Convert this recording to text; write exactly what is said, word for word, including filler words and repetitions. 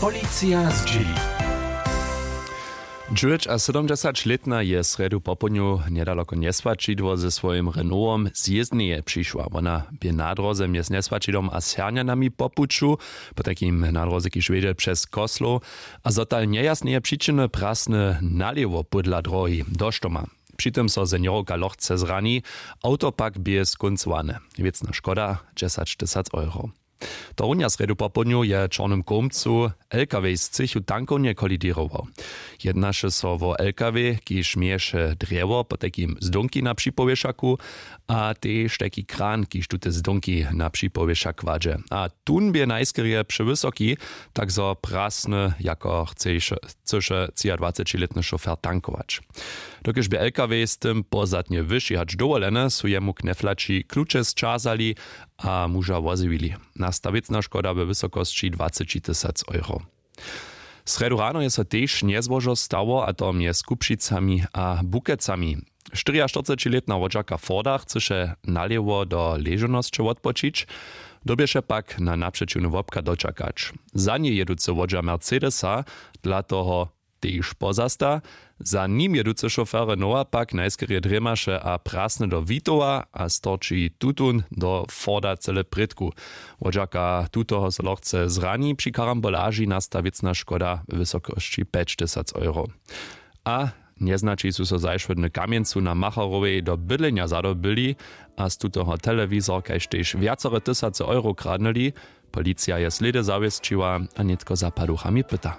Policija zdźěli. Dźewjećasydomdźesaćlětna je srjedu popołdnju njedaloko njeswaćidło ze swojim Renaultom z jězdneje přišła. Wona bě na dróze mjez njeswaćidom a sernjanami po puću, potajkim na dróze kiž wjedźe přez koslow, a zo tal njejasneje přičiny prasny nalěwo pódla dróhi do štoma. Při tym so seniorka lochce zrani, awto pak bě skóncowane. Wěcna škoda dźesaćtysac euro. Tohorunja srjedu popołdnju je w čornym kołmcu lkw z třěchu tankownje koliděrował. Jednaše so wo lkw, kiž měješe drjewo potajkim zdónki na připowěšaku, a tež tajki kran, kiž tute zdónki na připowěšak kładźe, a tón bě najskerje přewysoki, tak zo prasny jako chceše třiadwacećilětny šofer tankować. Dokelž bě lkw z tym pozadnje wyši hač dowoleny, su jemu kneflaći kluče sćazali a muža wozjewili. Nasta wěcna škoda we wysokosći dwacećitysac euro. Srjedu rano je so tež njezłožo stało, a to mjez Kupšicami a Bukecami. Štyriaštyrcećilětna wodźerka Forda chcyše nalěwo do ležownosće wotpočić, dyrbješe pak na napřećiwny wobchad dočakać. Za njej jěducy wodźer Mercedesa dla toho tež pozasta. Za nim jěducy šofer Renaulta pak najskerje drěmaše a prasny do Witowa a storči tutón do Forda cyle prědku. Wodźerka tutoho so lochce zrani. Při karambolaži nasta wěcna škoda we wysokosći pjećtysac euro. A njeznaći su so zašłodny w Kamjencu na Macharowej do bydlenja zadobyli a z tutoho telewizor kaž tež wjacore tysace euro kradnyli. Policija je slědy zawěsćiła a nětko za paduchami pyta.